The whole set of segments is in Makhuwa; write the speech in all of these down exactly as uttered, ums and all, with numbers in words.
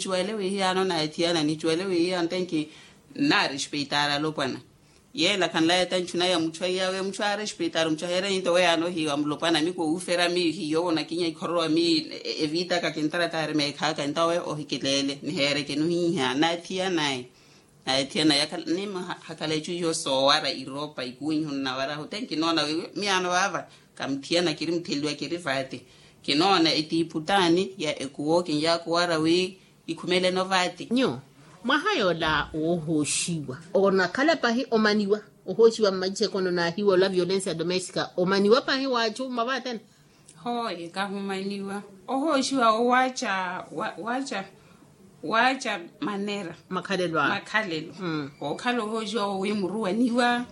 Nicuwele wiihiyaano na athiyana nicuwele wiihiyaano tenki. Nnaarespeitar alopwana yeela khanlaya ta nchuna ya muchu aiyaawe muchu aarespeitaru muchu aheerenyinto weyaano ohiiwa mulopwana miku owuufera miihiyo wonakinya ikhororowa mii. Evitaka kintarataari meekhaaka entawe ohikileele niheereke nuhiiha naathiyanaye. Naathiyana yakhala nimahakhala echu iyo soowara iropa ikuwiihu nnawarahu te nkinoona wi miyaano vaava. Kamuthiyana kiri mutheliwa kiri vaati. Kinoona etiipu taani ya ekuwo kinyaakuwara wi ikhumeleno vaati. Nyu mwaha yoola woohooxiwa onakhala pahi omaniwa ohooxiwa mmaicekoni onaahiwa ola violencia domestika omaniwa pahi wa achu mmavaatene. Hooye kahumaniwa ohooxiwa owaaca waaca waaca manera makhalelo awe makhalelo. Wookhala ohooxiwa wowimuruwaniwa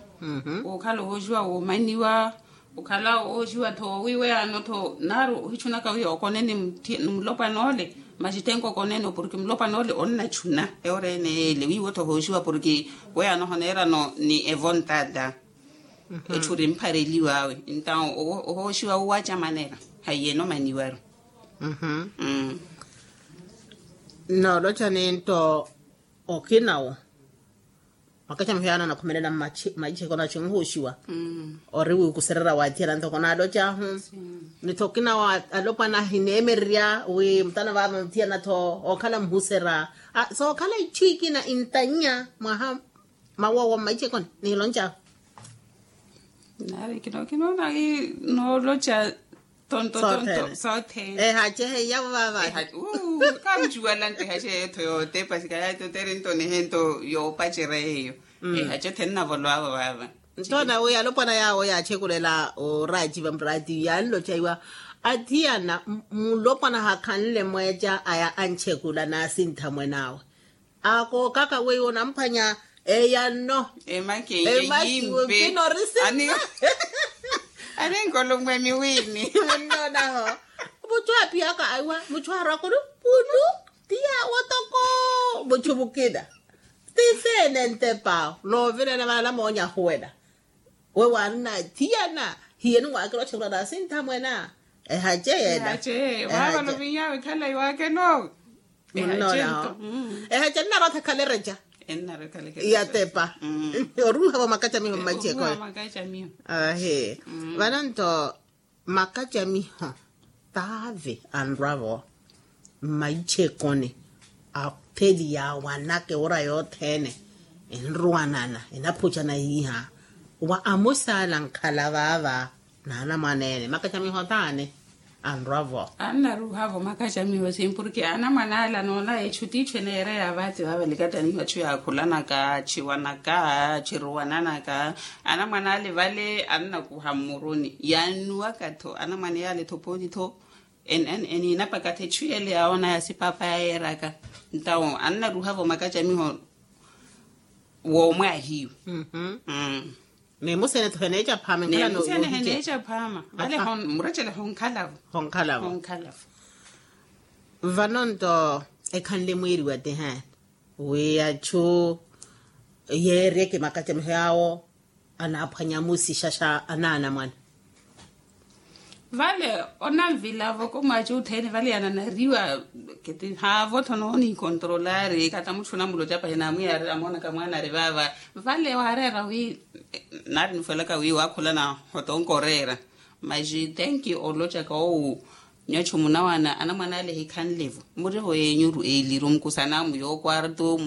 wookhala ohooxiwa woomaniwa. Okhala oxiwa-tho wiiweyaano-tho naaru ohichunaka wi okone ni mulopwana ole maxitenko okonene porke mulopwana ole onnachuna eworeene yeele wiiwo-tho ohoxiwa porke weyaano ohoneerano ni evontata. Echu ori mphareliwaawe entawo ohoxiwa owaca manera haiyeno maniwaru. Noolocha ninto okinawo makacamiho yaana anakhumelela mmaicekoni aci nhuuxiwa ori wiikusererya waathiyana ntoko naalocahu. Ni-tho okinawo alopwana ahineemererya wi mutano vaava muthiyana-tho ookhala muhuserya sookhala ichu ikina intannya mwaha mawowo mmaicekoni niloncahu. Nari kinoona wi nooloca tonto tonto sothene. Ehace heiyavo vaava. Kamucuwala nto ehace yeyo-tho yootepa sikayatotere nto nihento yoopacerya yeyo. Ehace othene nnavolowavo vaava. Nto nawi alopwana yaawo yaachekulela oraciva murati yaanloca iwa athiyana mulopwana hakhanle mweeca aya anchekula naasintha mwen'awe. Akookaka weiwo onamphwanya eyanno emakiwe kinorisina. Aninkolumwe miwini munnoonaho. Muchu aaphiyaka aiwa muchu aarwakuru pulu ti yaawo toko muchu mukina. Ti seene ntepa awo noovirela vaala moonya ahuwela. We waanna athiyana hiyeni waakela ochekhula naasintha mwena. Ehace yeena. Ehace yeena waavano vinyaawe khala iwaakeno. Munnoonaho ehace ennarwa-tho ekhalereca. Yatepa oruuhavo makacamiho mmaicekoni. Ahi vano nto makacamiho taave anrwa-vo mmaicekoni. Atheli yaawanaka ewora yothene enruwanana enaphucana yiiha wa amusaala ankhala vaava. Naanamwaneene makacamiho taani anrwa-vo. Annaruuha-vo makacamiho sim porke anamwane ale anoona echu tiichu eneereya vaati vaavalikataniho achu yaakhulanaka achiwanaka achiruwananaka. Anamwane ale vale annakuha mmuruni yaannuwaka-tho anamwane yaale-tho pooti-tho. Eniinapaka-tho echu yele yaawoona ya sipaapa yayeeraka. Ntawo annaruuha-vo makacamiho woomwaahiwa. Ni musene-tho heneeca phaama enkhala ni musene heneeca phaama vale. Muracele honkhalavo honkhalavo. Vano nto ekhanle mwiiriwa ti he wi achu yeeryeke makacamiho yaawo anaaphwanya musixaxa anaanamwane. Vale onanvilavo ko mwaaci othene vale yananariwa. Kitihaavo-tho noonikontrolari kata mutthu onamuloca pahi naamwiyaarira amoonaka mwaanari vaava. Vale waareera wi naari nifwelaka wi waakhulana hotonka oreera. Maxi tenki olocaka owu nyachu munawana anamwane ale ehikhanle-vo murivo yeenyuru eeliru mukusanamu yookwarto.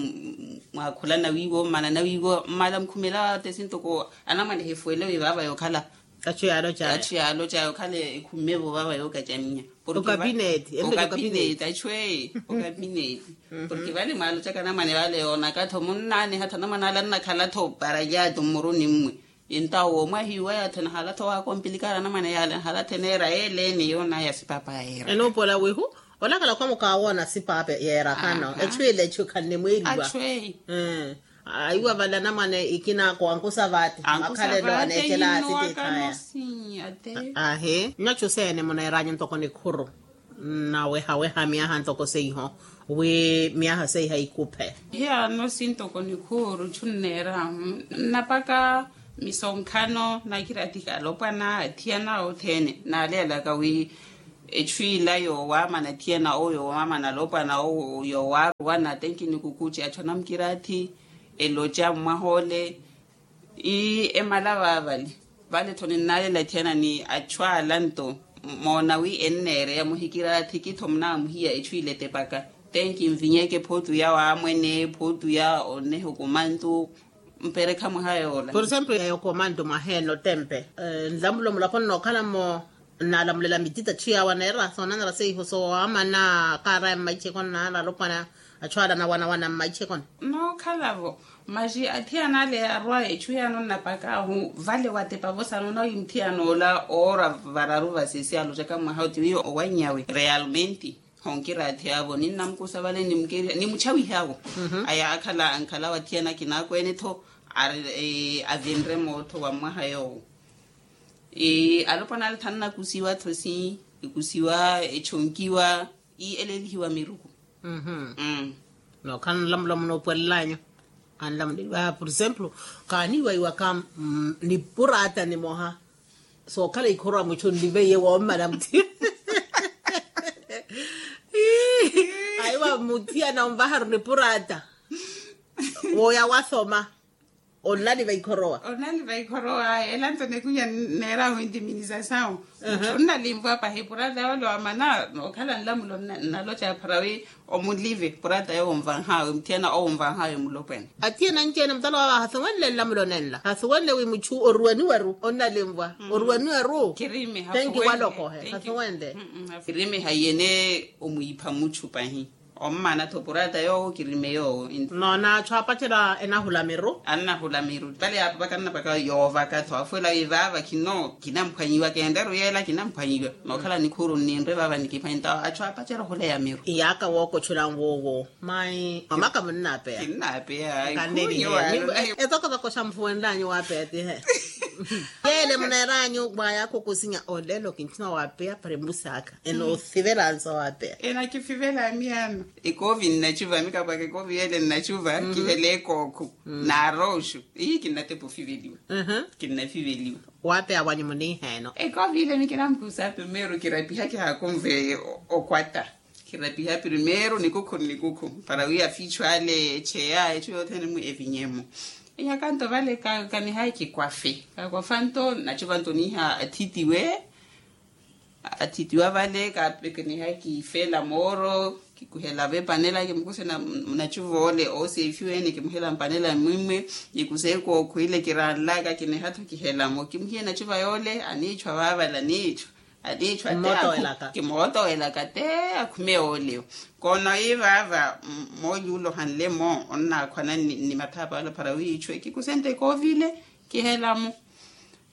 Mwaakhulana wiiwo mmanana wiiwo mmala mukhumela waate sintoko anamwane ehifuwele wi vaava yookhala. Achu yaaloca achu yaaloca yookhala ekhumme-vo vaava yookacamiya. Okapineeti okapineeti achu eye okapineeti. Porke vale mwaalocaka anamwane vale yoonaka-tho munnaaniha-tho anamwane ale annakhala-tho paralyatu mmuruni mmwe. Entawo woomwahiwa yaathe nahala-tho waakompilikari anamwane yaale nahala-tho eneera yeeleene yoonaya sipaapa yayeera. Enuupola wihu olakala khwa mukaawoona sipaapa yeera hano echu ile echu khanimwiiriwa. Achu eye aiwa vale anamwane ikina ako ankusa vaati makhalelo aneecela aatitiithaya. Ahi nyachu seene muneeranya ntoko nikhuru nnawehaweha myaha ntoko seiho wi myaha seiha ikuphe. Hiyaano sintoko nikhuuru chu nneerahu nnapaka misonkhano nakiratika alopwana athiyana othene naaleelaka wi Echu ila yoowamana thiyana owo yoowamana alopwana owo yowaruwana tenki ni kukuchi achu anamukirathi elocha mwaha ole. Ii emala vaavale vale tho ninnaalela thiyana ni achu ala nto moona wi enneereya muhikirathi kitho munaamuhiya echu ila etepaka. Tenki nvinyeke phootu ya waamwene phootu ya onneha okumantu. Mperekha mwaha yoola. Por exemplo ya yokomanto mwaha ene otempe nlamulo mulapo nnookhala-mo. Nnaalamulela mitita chiyawa neera soonanela seiho soowamana kaaraya mmaichekoni naala alopwana achu ala nawanawana mmaichekoni. Nookhala-vo maxi athiyana ale arwa echu yaano nnapakaahu vale watepa-vo sanoona wi muthiyanoola oora vararu vasesi alocaka mwaha oti wi owanyawe realmente. Honkiraathi avo ninnamukusa vale nimuke nimuchawihe avo. Aya akhala ankhala wathiyana kinaakweene-tho ari avinre mootho wa mwaha yoowo. Alopwana ale thannakusiwa-tho si ekusiwa echonkiwa. Ii eleelihiwa miruku. Nookhala nlamula munoopwelel'anyu anlamuleliwa por exemplo kaaniiwaiwaka nipuraata nimoha. Sookhala ikhorowa muchu nliveiye woommala muthiyana. Aiwa muthiyana onvaharu nipuraata wooya wasoma. Onnaliva ikhorowa onnaliva ikhorowa ela nto nekunya neerahu intiminizasawu. Onnalimvwa pahi puraata yoole wamana nookhala nlamulo nnalocha pharawi. Omulive puraata yowo onvanhawe muthiyana owo onvanhawe mulopwene. Athiyana anci-ene mutala wawe ahasuwenle nlamulo nenla hasuwenle wi muchu oruweniweru onnalimvwa oruweniweru. Tenki walokohe hasuwenle. Kirime haiyene omwiipha muchu pahi. Ommana-tho puraata yoowo kirime yoowo. Noona achu aapacela enahula miru annahula miru vale yaapapaka nnapaka yoovaka-tho afuwela wi vaava khino kinamphwanyiwa kenreru yeela kinamphwanyiwa. Nookhala nikhuuru nninre vaava nikiphwanyi ntawo achu aapacela ohuleya miru. Iyaaka wookochula nwoowo mai mamaka munnaapeya kinnaapeya. Etokotoko xa mufuwenlanyu waapeya tihe yeele muneeranyu mwayaakho okusinya olelo kinchina waapeya para embusaaka enoosivela nsa waapeya. Enakifivela miyaano. Ekoovi nnachuva mikapwaka ekoovi yeele nnachuva kihela ekookho naarooxu. Ii kinnatepa ofiveliwa kinnafiveliwa. Waapeya wanyu muniiheeno ekoovi ile mikinampusa primeiro kirapiha kihaakunve okwata. Kirapiha primeiro nikukhu nnikukhu para wi afiichu ale echeya echu yothene-mu evinyemo. Iyakanto vale kanihayi kikwafe kakwafanto nnachuvanto niiha athitiwe. Athitiwa vale kaapekeniha kiifela mooro kikuhelavo epanela kimukusena munachuva ole oosefiwene kimuhela mpanela mmwimwe. Kikusa ekookho ile kiranlaka kiniha-tho kihelamo kimuhiye nachuva yoole aniichwa vaavala aniichwa. Aniichwa te kimootowelaka te akhume yoole. Koona wi vaava moonyuula ohanle-mo onnaakhwana ni mathapa ale para wiichwe kikusente koovile kihelamo.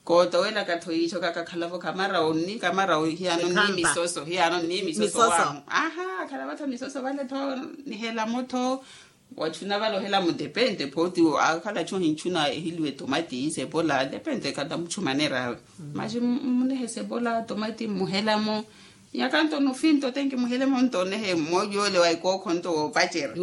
Kootowelaka-tho yiicho kakakhala-vo kamara onni kamara hiyaano nni misoso hiyaano nni misoso waahu. Aha akhala-vo-tho misoso vale-tho nihelamo-tho. Wachuna vale ohelamo depente phooti akhala-tho ohinchuna ehiliwe tomati sepola depente kata muchumanera awe. Maxi munihe sepola tomati mmuhelamo. Nyakanto nufinto tenki muhelemo nto nehe mmoja ole wa ikookho nto woopacera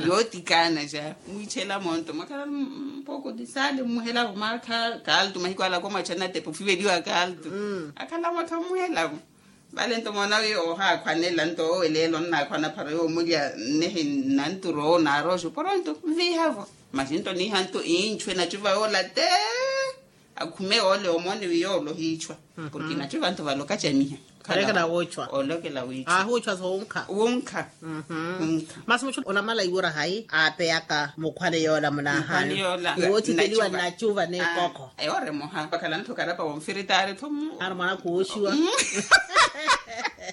yootikana ja mwiichela monto mwakhala mpoko tisali mmuhela maakha kaltu mahiku ala komwachana tepo fiveliwa kaltu. Akhala motho mmuhelamo vale nto moona wi ohaakhwanela nto oweleela onnaakhwana phara yoomulya nnehe nnanturo naaroxo poronto nviihavo. Maxi nto niiha nto inchwe nachuva yoola te. Akhume ole omoone wi yoole ohiichwa. Porke nachuva nto vale okachamiha. Olekela woochwa. Olekela wiichwa ahuuchwa so wunkha wunkha. Masi muchu onamala iwura hayi aapeyaka mukhwane yoola munaahaani iwoothiteliwa nnachuva n'ekokho. Eworemoha vakhala ntho karapa wonfiritaari tho mu ari mwana kuwoxiwa.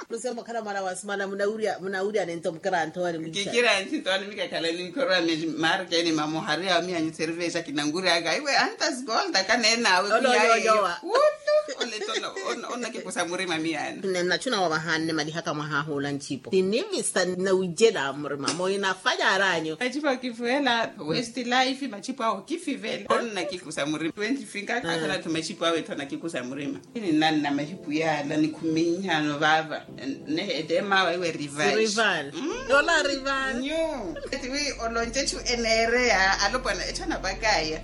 Lusembo khala mwana wa simana munawurya munawurya nento mukira ntho wani mwixa kikira nthi ntho wani mikakhala ninkhorwa mi markeni mamohari awo miyanyu service akinanguryaka iwe antas gold akaneenawe miyaye. Wullu ole tona onakikusa murima miyana. Nnachu nawavahanne malihaka mwahahuula nchipo tinimisa nawijela murima moyo nafanyara anyu. Machipo kifuhela west life machipo awo kifivela onnakikusa murima twenty finka akhala tho machipo awe tho nakikusa murima. Ini nanna mahipu yaala nikhuminhano vaava. Nehe ete mawa iwe rival rival. Yola rival nyu eti wi oloncechu eneereya alopwana etthana pakaya.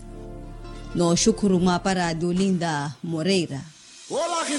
Nooxukhuru mwaapara dolinda moreira.